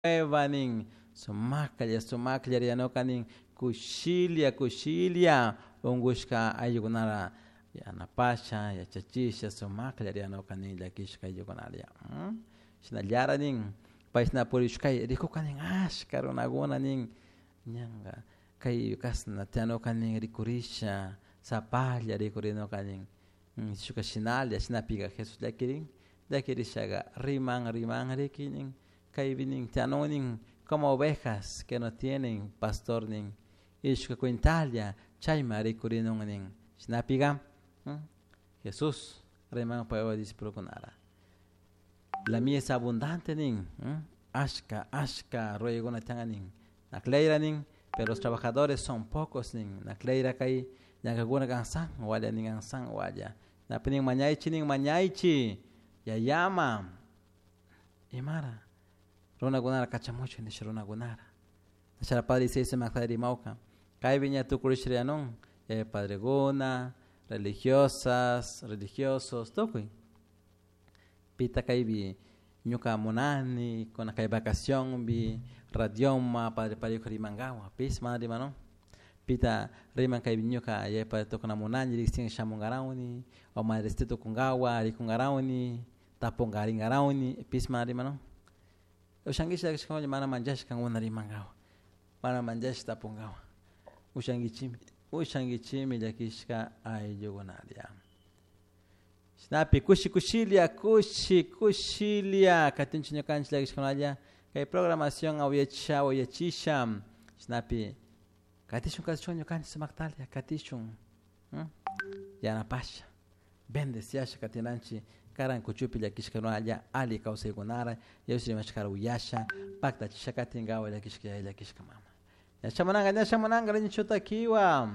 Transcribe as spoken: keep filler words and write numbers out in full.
Nin sumaklla sumaklla riyanuka nin kushilla kushilla unkushka ayllukunara yanapasha yachachisha sumaklla riyanuka nin llakishka ayllukunalla shinallara nin payshna purishkay rikuka nin ashka runakuna nin ñanka kay kashna tiyanuka nin rikurisha sapalla rikurinuka nin shuka shinalla shinapika Jesus llakirin llakirishaka riman riman riki nin kaypi nin tiyanun nin como ovejas que no tienen pastor nin ishka cuentalla chayma rikurinun nin shinapika Jesus riman paypak discipulokunara la mies abundante nin ashka ashka ruraykuna tiyan nin akllayra nin pero los trabajadores son pocos nin akllayra kay llankakuna kansan walla nin ansan walla napi nin mañaychik nin mañaychik yayama imara runakunara kachamuchun nisha runakunara chara padre sumakta rimawka kaypi ña tukurishriyanun yaya padrekuna religiosas religiosos tukuy pita kaypi ñuka munani kuna kay vacacionpi radioma padre parijo rimankawan pish mana rimanun pita riman kaypi ñuka yaya padre tukuna munani riksin shamunkarawni o madre tukunkawan rikunkarawni tapunkarinkarawni pish mana rimanun ushankichik mana manchashka kankuna rimankawan mana manchash tapunkawan ushankichikmi ushankichikmi llakishka ayllukunalla shinapi kushi kushilla kushi kushilla katinchik ñukanchik llakishkunalla kay programación awayachisha awayachisha shinapi katishun katishun ñukanchik sumaktalla katishun yanapasha bendeciasha katinanchik karan kuchupi llakishkanalla alli kawsaykunara Dios rimashkara uyasha paktachisha katinkawa llakishka yaya llakishka mama ña shamunanka ña shamunanka niño chutakiwa.